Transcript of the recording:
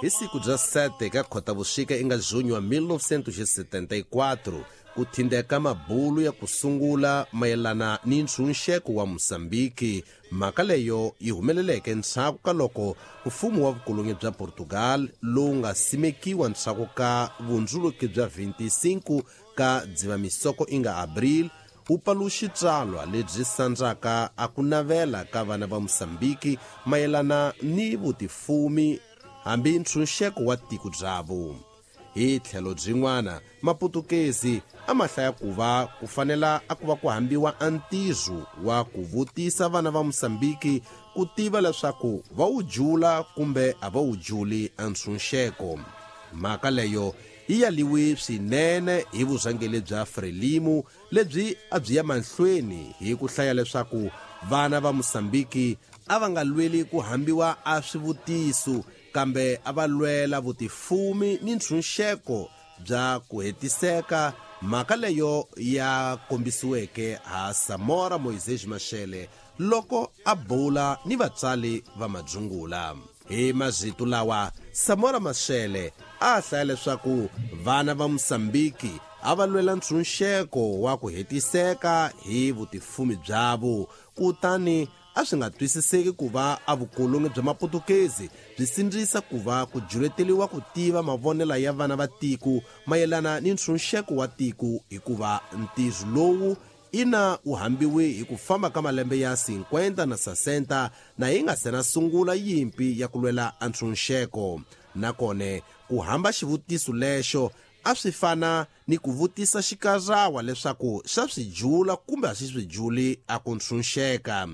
Hi siku bya 7 ka Khotavuxika inga junho wa 1974 ku thindeka mabulu ya ku sungula mayelana ni ntshunxeko wa Mozambiki. Mhaka leyo yi humeleleke ndzhaku ka loko mfumo wa vukolonyi bya Portugal lowu nga simekiwa ndzhaku ka vundzuluki bya 25 ka Dzivamisoko inga Abril wu paluxi tsalwa lebyi sandzaka a ku navela ka vana va Mozambiki mayelana ni vutifumi hambi ntshunxeko wa tiko byavo. Hi tlhelo byin'wana, Maputukezi a ma hlaya ku va ku fanela a ku va ku hambiwa a ntirho wa ku vutisa vana va Mozambiki ku tiva leswaku va wu jula kumbe a va wu juli a ntshunxeko. Mhaka leyo yi yaliwe swinene hi vurhangeri bya Frelimo lebyi a byi ya mahlweni hi ku hlaya leswaku vana va Mozambiki a va nga lweli ku hambiwa a swivutiso, kambe a va lwela vutifumi ni ntshunxeko bya ku hetiseka. Mhaka leyo ya kombisiweke ha Samora Moisés Machel loko a bula ni vatswari va madzungula. Hi mazito lawa, Samora Machel a hlaya leswaku vana va Mozambiki a va lwela ntshunxeko wa ku hetiseka hi vutifumi byavo, kutani a swi nga twisiseki ku va a vukolonyi bya Maputukezi byi sindzisa ku va ku juleteliwa ku tiva mavonelo ya vana va tiko mayelana ni ntshunxeko wa tiko, hikuva ntirho lowu ina wu hambiwe hi ku famba ka malembe ya 50 na 60 na yi nga se na sungula yimpi ya ku lwela a ntshunxeko. Nakone ku hamba xivutiso lexo a swi fana ni ku vutisa xikarawa leswaku xa swi jula kumbe a xi swi juli a ku ntshunxeka.